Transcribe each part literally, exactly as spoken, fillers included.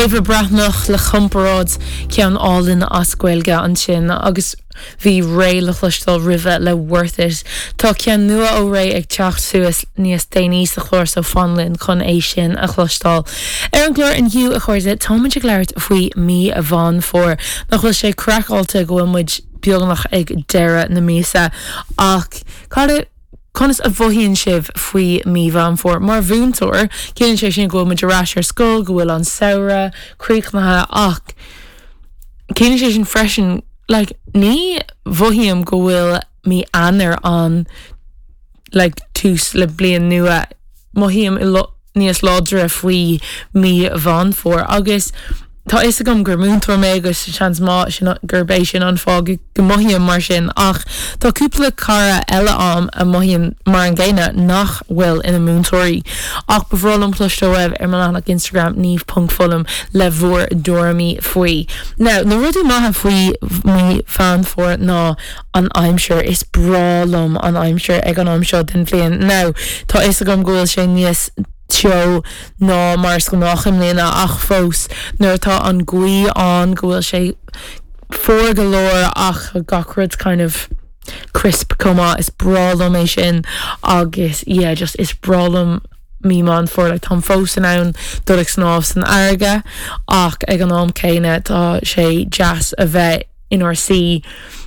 Éabha Breathnach le Comparáid ceann álainn as Gaeilge ansin agus bhí Raye le cloisteáil roimhe le Worth It. Tá ceann nua ó Raye ag teacht suas níos déanaí sa chlár so fan linn chun é sin a chloisteáil. Ar an gclár inniu a chairde táimid ag labhairt faoi mí Mheán Fómhair nach bhfuil sé craiceáilte go bhfuil muid beagnach ag deireadh na míosa ach cad Conas a mhothaíonn sibh faoi mí Mheán Fómhair mar mhúinteoir, ciallaíonn sé sin go bhfuil muid ar ais ar scoil go bhfuil an samhradh críochnaithe ach ciallaíonn sé sin freisin like, ní mhothaím go bhfuil mí Eanáir an like, tús le bliain nua mothaím níos láidre faoi mí Mheán Fómhair agus Tá fhios agam gur múinteoir mé agus seans maith sin gurb é sin an fáth go mothaím mar sin ach tá cúpla cara eile agam a mothaíonn mar an gcéanna nach bhfuil ina múinteoirí. Ach ba bhreá liom cloisteáil uaibh ar mo leathanach Instagram niamh.fulham le bhur dtuairimí faoi. Now, na rudaí maithe faoi mí Mheán Fómhair ná an aimsir is breá liom an aimsir ag an am seo den bhliain. Now, tá fhios agam go bhfuil sé níos teo ná mar is gnách i mbliana ach fós nuair atá an ghaoth ann go bhfuil sé fuar go leor ach gach rud kind of crisp chomh maith is breá liom é sin agus yeah, just is breá liom mí Mheán Fómhair like, táim fós in ann dul ag snámh san fharraige ach ag an am céanna tá sé deas a bheith inár suí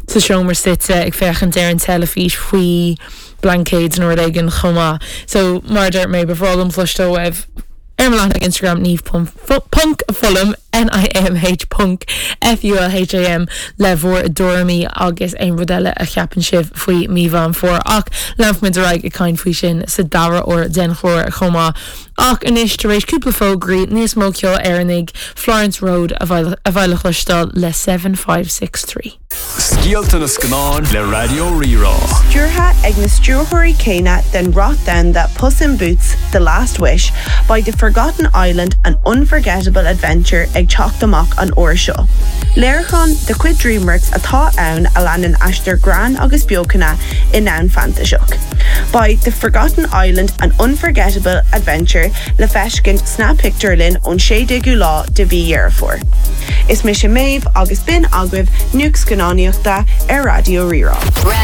sa seomra suite ag féachaint ar an teilifís faoi blaincéid nó rud éigin chomh maith. So mar dúirt mé ba bhreá liom cloisteáil uaibh ar mo leathanach Instagram niamh ponc fulham NIAMH ponc FULHAM le bhur dtuairimí agus aon rud eile a cheapann sibh faoi mí Mheán Fómhair ach leanfaimid ar aghaidh ag caint faoi sin sa dara huair den chlár chomh maith. Ach anois tar éis cúpla fógraí níos mó ceoil Éireannaigh Florence Road a bheidh le cloisteáil le seven five six three. Scéalta na scannán le Raidió Rí-Rá. Stiúrtha ag na stiúrthóirí céanna den rath domhanda Puss in Boots, The Last Wish, beidh The Forgotten Island an unforgettable adventure ag teacht amach an uair seo. Léiriúchán de chuid DreamWorks atá ann a leanann aistear greann agus beochana i ndomhan fantaiseach. Beidh The Forgotten Island an unforgettable adventure le feiscint sna pictiúrlanna ón sé déagú lá de mhí Dheireadh Fómhair. Is mise Méabh agus b'in agaibh nuacht scannánaíochta ar Raidió Rí-Rá.